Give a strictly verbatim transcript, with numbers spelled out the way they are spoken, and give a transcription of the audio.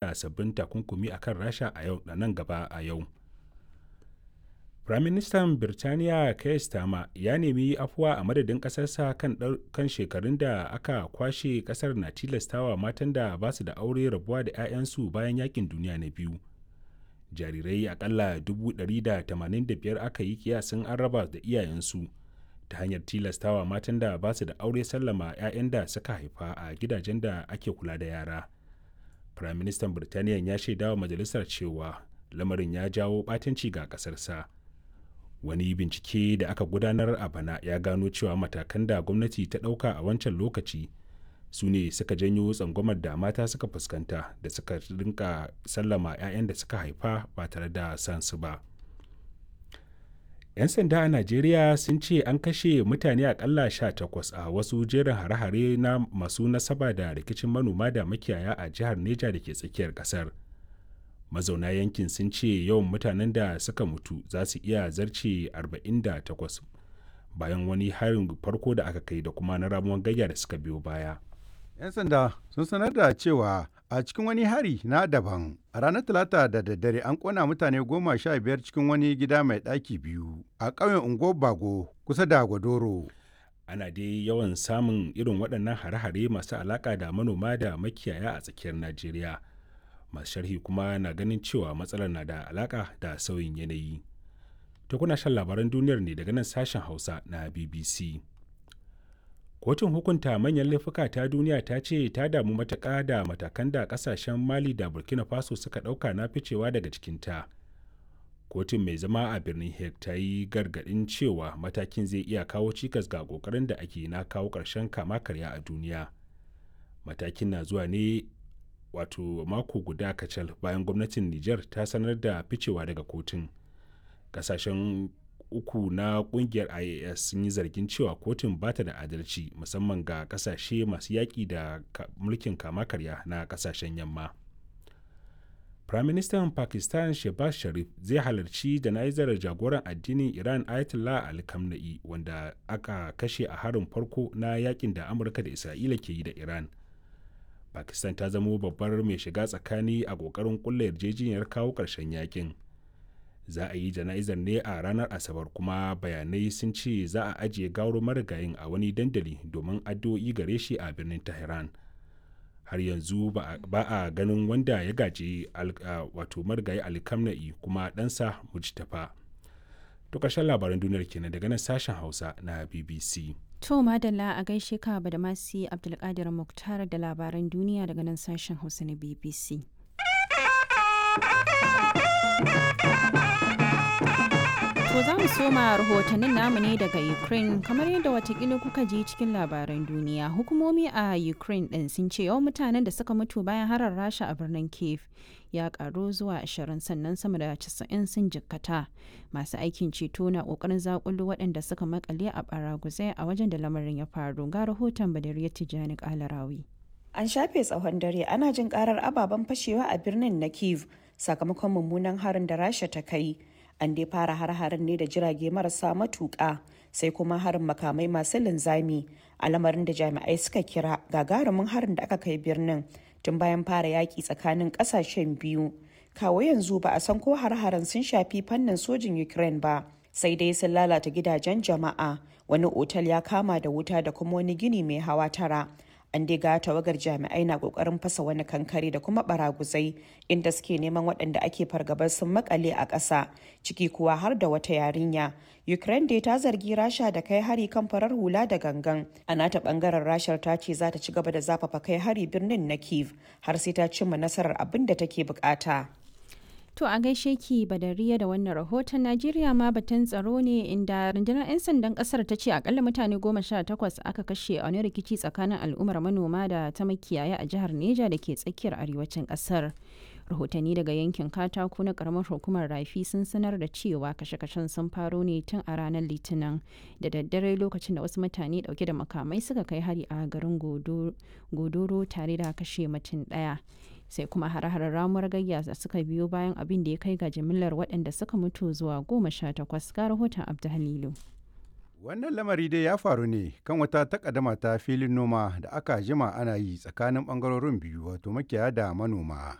Sabbin takunkumi a kan Rasha a nan gaba a yau. Firaministan Birtaniya Keir Starmer ya nemi afuwa a madadin ƙasarsa kan shekarun da aka kwashe ƙasar na tilastawa matan da ba su da aure rabuwa da 'ya'yansu bayan Yaƙin Duniya na Biyu. Jarirai akalla dubu ɗari da tamanin da biyar aka yi kiyasin an raba da iyayensu ta hanyar tilastawa matan da ba su da aure sallama 'ya'yan da suka haifa a gidajen da ake kula da yara. Firaministan Birtaniyan ya shaidawa majalisar cewa lamarin ya jawo ɓatanci ga ƙasarsa. Wani bincike da aka gudanar a bana ya gano cewa matakan da gwamnati ta ɗauka a wancan lokaci su ne suka janyo tsangwamar da mata suka fuskanta da suka rinka sallama 'ya'yan da suka haifa ba tare da san su ba. 'Yan sanda a Najeriya sun ce an kashe mutane akalla takwas a wasu jerin hare-hare na masu nasaba da rikicin manoma da makiyaya a jihar Neja da ke tsakiyar kasar. Mazauna yankin sun ce yawan mutanen da suka mutu za su iya zarce arba'in da takwas bayan wani harin farko da aka kai da kuma na ramuwan gayya da suka biyo baya. 'Yan sanda sun sanar da cewa a cikin wani hari na daban a ranar Talata da daddare an kona mutane goma sha biyar cikin wani gida mai ɗaki biyu a ƙauyen Unguwar Bago kusa da Gwadoro. Ana dai yawan samun irin waɗannan hare-hare masu alaƙa da manoma da makiyaya a tsakiyar Najeriya. Masu sharhi kuma na ganin cewa matsalar na da alaƙa da sauyin yanayi. To, kuna shan labaran duniyar ne daga nan sashen Hausa na B B C. Kotun Hukunta Manyan Laifuka ta Duniya ta ce ta damu matuƙa da matakan da ƙasashen Mali da Burkina Faso suka ɗauka na ficewa daga cikinta. Kotun mai zama a birnin Hague ta yi gargaɗin cewa matakin zai iya kawo cikas ga ƙoƙarin da ake na kawo ƙarshen kama karya a duniya. Matakin na zuwa ne wato mako guda kacal bayan gwamnatin Nijar ta sanar da ficewa daga kotun. Ƙasashen uku na kungiyar I A S sun yi zargin cewa kotun ba ta da adalci, musamman ga kasashe masu yaƙi da mulkin kama karya na kasashen yamma. Firaministan Pakistan Shehbaz Sharif zai halarci jana'izar jagoran addinin Iran Ayatollah Ali Khamenei, wanda aka kashe a harin farko na yakin da Amurka da Isra'ila ke yi da Iran. Pakistan ta zamo babbar mai shiga tsakani a ƙoƙarin ƙulla yarjejeniyar kawo ƙarshen yakin. Za a yi jana'izar ne a ranar Asabar, kuma bayanai sun ce za a ajiye gawar marigayin a wani dandali domin addu'o'i gare shi a birnin Tehran. Har yanzu ba a ganin wanda ya gaji wato marigayi Alkamna'i kuma ɗansa Mujtafa. To, ƙarshen labaran duniyar kenan daga nan sashen Hausa na B B C. To madalla, a gaishe ka Badamasi Abdulkadir Muktar da labaran duniya daga nan sashen Hausa na B B C. To, za mu soma rahotannin namu ne daga Ukraine. Kamar yadda watakila kuka ji cikin labaran duniya. Hukumomi a Ukraine ɗin sun ce yawan mutanen da suka mutu bayan harar Rasha a birnin Kiev ya karu zuwa ashirin, sannan sama da casa'in sun jikkata. Masu aikin ceto na kokarin zakulu waɗanda suka makale a baraguzai a wajen da lamarin ya faru. Ga rahoton Badariya Tijjani Kalarawi. An shafe tsawon dare ana jin karar ababen fashewa a birnin na Kiev sakamakon mummunan harin da Rasha ta kai. An dai fara har-harin ne da jirage marasa matuƙa, sai kuma harin makamai masu linzami, a lamarin da jami'ai suka kira gagarumin harin da aka kai birnin tun bayan fara yaƙi tsakanin ƙasashen biyu. Kawo yanzu ba a san ko har-haren sun shafi fannin sojin Ukraine ba, sai dai sun lalata gidajen jama'a, wani otal ya kama da wuta da kuma wani gini mai hawa tara. An dai ga tawagar jami'ai na kokarin fasa wani kankare da kuma baraguzai inda suke neman waɗanda ake fargabar sun makale a ƙasa, ciki kuwa har da wata yarinya. Ukraine dai ta zargi Rasha da kai hari kan farar hula da gangan. A nata bangaren, Rashar ta ce za ta ci gaba da zafafa kai hari birnin na Kiev har sai ta cimma nasarar abin da take bukata. To, a gaishe ki Badariya da wannan rahoton. Najeriya ma batun tsaro ne, inda rundunar 'yan sandan kasar ta ce akalla mutane goma sha takwas aka kashe a wani rikici tsakanin al'ummar manoma da ta makiyaya a jihar Neja da ke tsakiyar arewacin kasar. Rahotanni daga yankin Katako na karamar hukumar Rafi sun sanar da cewa kashe-kashen sun faro ne tun a ranar Litinin da daddare, lokacin da wasu mutane dauke da makamai suka kai hari a garin Godoro tare da kashe mutum daya. Sai kuma hare-haren ramuwar gayya da suka biyo bayan, abin da ya kai ga jimillar waɗanda suka mutu zuwa goma sha takwas. Ga rahoton Abdu Halilu. Wannan lamari dai ya faru ne kan wata takaddama ta filin noma da aka jima ana yi tsakanin bangarorin biyu, wato makiyaya da manoma.